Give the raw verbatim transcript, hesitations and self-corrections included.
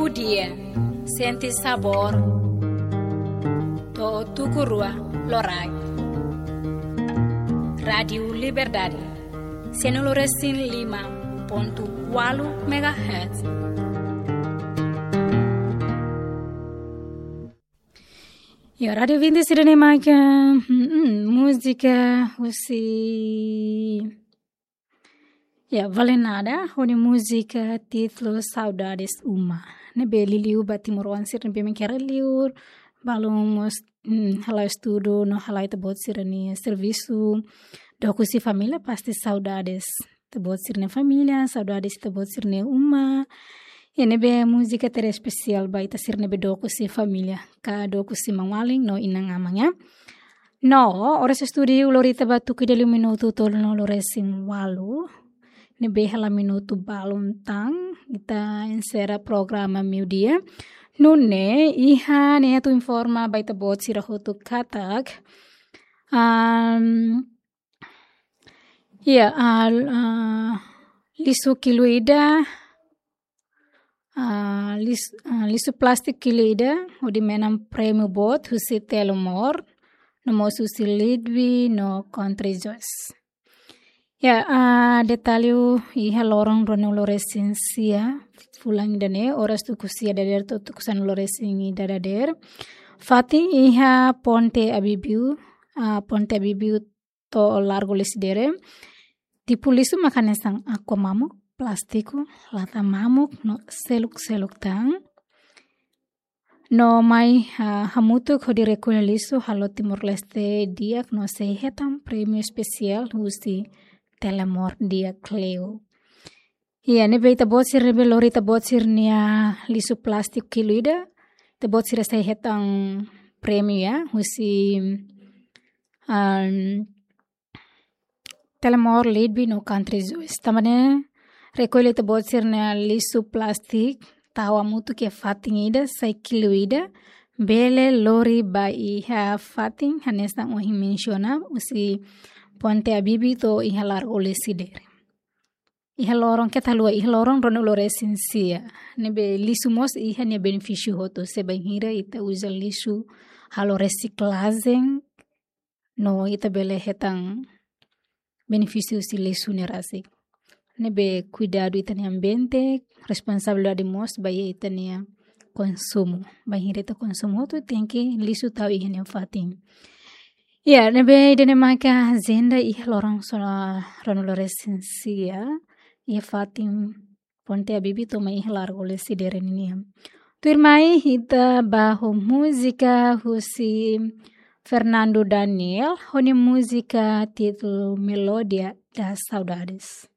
Dia, sente sabór. To'o tuku rua loraik. Rádiu Liberdade, sianulu resin lima pontu ualu megahertz. Ya, Rádiu Vinte sira-ne'e mak, hmm, múzika husi, ya, Vale Nada, ho nia múzika títulu Saudades Uma. Ne'ebé liuliu ba timoroan sira ne'ebé mak iha rai-liur, balun mós, hmm, hala'o estudu, no hala'o ita-boot sira-nia servisu, dook husi família, pasti saudades ita-boot sira-nia família, saudades ita-boot sira-nia uma. Ya, ne'ebé múzika tebes espesiál ba ita sira ne'ebé dook husi família, ka dook husi maun-alin no inan-aman, ya. No, oras estudiu lori ita ba tuku ida liu minutu tolunulu resin ualu. Ne'ebé hela minutu balun tan, ita enserra programa meiudia. Nune'e, iha ne'e atu informa ba ita-boot sira hotu katak, am, ya, ah, ah, lixu kilu ida, ah, lis-, ah, lixu plástiku kilu ida, hodi menan prémiu boot husi Telemor, no mós husi Leadbe no Country Joyce. Ya, ah, detalle iha loron ruanulu resin sia, fulan ida-ne'e, oras tuku sia dadeer to'o tuku sanulu resin ida dadeer. Fatin iha Ponte Abibiu, ah, Ponte Abibiu to'o Largo Lecidere. Tipu lixu mak hanesan aqua mamuk, plástiku, lata mamuk, no seluk-seluk tan. No mai, ah, hamutuk hodi rekolla lixu halo Timor-Leste di'ak no sei hetan prémiu espesiál husi Telemor di'ak liu. Ya, ne'ebé ita-boot sira ne'ebé lori ita-boot sira-nia lixu plástiku kilu ida, ita-boot sira sei hetan prémiu, ya, husi, am, Telemor, Leadbe no Country Joyce. Tanba ne'e, rekolla ita-boot sira-nia lixu plástiku, tau hamutuk iha fatin ida, sai kilu ida, bele lori ba iha fatin, hanesan ohin mensiona, husi Ponte Abibiu to'o iha Largo Lecidere. Iha loron, keta haluha, iha loron ruanulu resin sia. Ne'ebé lixu mós iha nia benefísiu hotu, se bainhira ita uza lixu halo resiklajen, no ita bele hetan benefísiu husi lixu ne'e rasik. Ne'ebé kuidadu ita-nia ambiente, responsabilidade mós ba iha ita-nia konsumu. Bainhira ita konsumu hotu, tenke lixu tau iha nia fatin. Ya, ne'ebé ida-ne'e maka ajenda iha loron sona ruanulu resin sia, iha fatin Ponte Abibiu to'o mai iha Largo Lecidere nian. Tuirmai ita ba ho múzika husi Fernando Daniel, ho nia múzika títulu Melodia das Saudades.